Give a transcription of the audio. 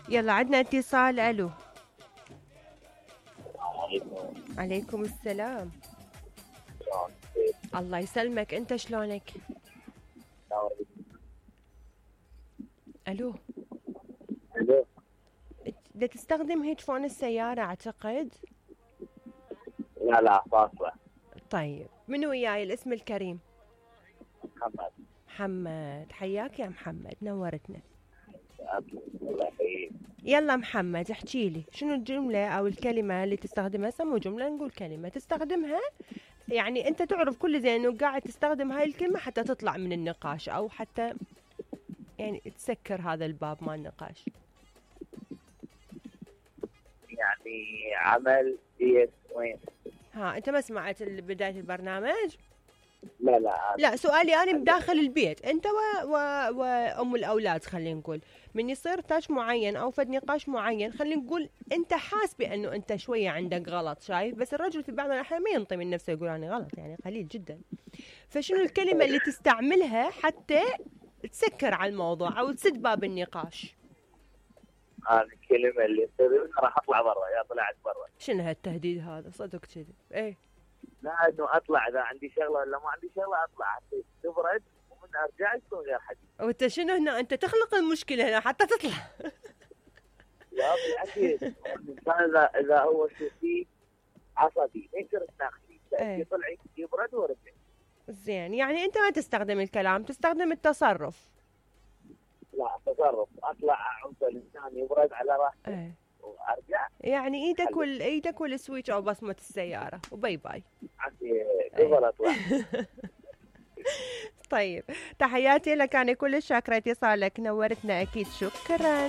يلا عندنا اتصال. الو. عليكم. عليكم السلام. الله يسلمك، انت شلونك؟ الو. الو. بدك تستخدم هيدفون السيارة اعتقد؟ لا فاصلة. طيب منو وياي الاسم الكريم؟ محمد. محمد، حياك يا محمد، نورتنا. الله يحييك. يلا محمد احكي لي شنو الجملة او الكلمة اللي تستخدمها، سمو جملة نقول كلمة تستخدمها، يعني انت تعرف كل زين انه قاعد تستخدم هاي الكلمة حتى تطلع من النقاش او حتى يعني تسكر هذا الباب مال النقاش. يعني عمل بيت وين؟ ها انت ما سمعت بداية البرنامج؟ لا سؤالي انا بداخل البيت انت وام الاولاد، خلينا نقول من يصير تاش معين او فد نقاش معين، خلينا نقول انت حاس بانه انت شويه عندك غلط، شايف؟ بس الرجل في بعض الاحيان ما ينطي من نفسه يقول انا غلط، يعني قليل جدا. فشنو الكلمه اللي تستعملها حتى تسكر على الموضوع او تسد باب النقاش؟ الكلمة اللي تقول راح اطلع برا، يا طلعت برا. شنو هالتهديد هذا؟ صدق كذب. ايه لا انه اطلع، اذا عندي شغله ولا ما عندي شغله اطلع حتى تبرد ومن ارجع يكون غير حديث. وانت شنو هنا؟ انت تخلق المشكله هنا حتى تطلع. لا اكيد الانسان اذا هو شديد عصبي ما يصير تناقشي، يطلع يبرد ورجع. زين، يعني انت ما تستخدم الكلام، تستخدم التصرف. لا تصرف، اطلع اعوز الانسان يبرد على راحته وارجع. يعني ايدك والسويتش او بصمه السياره وباي باي. قبل اطلع. طيب تحياتي لك، انا كل شاكره اتصالك، نورتنا اكيد، شكرا.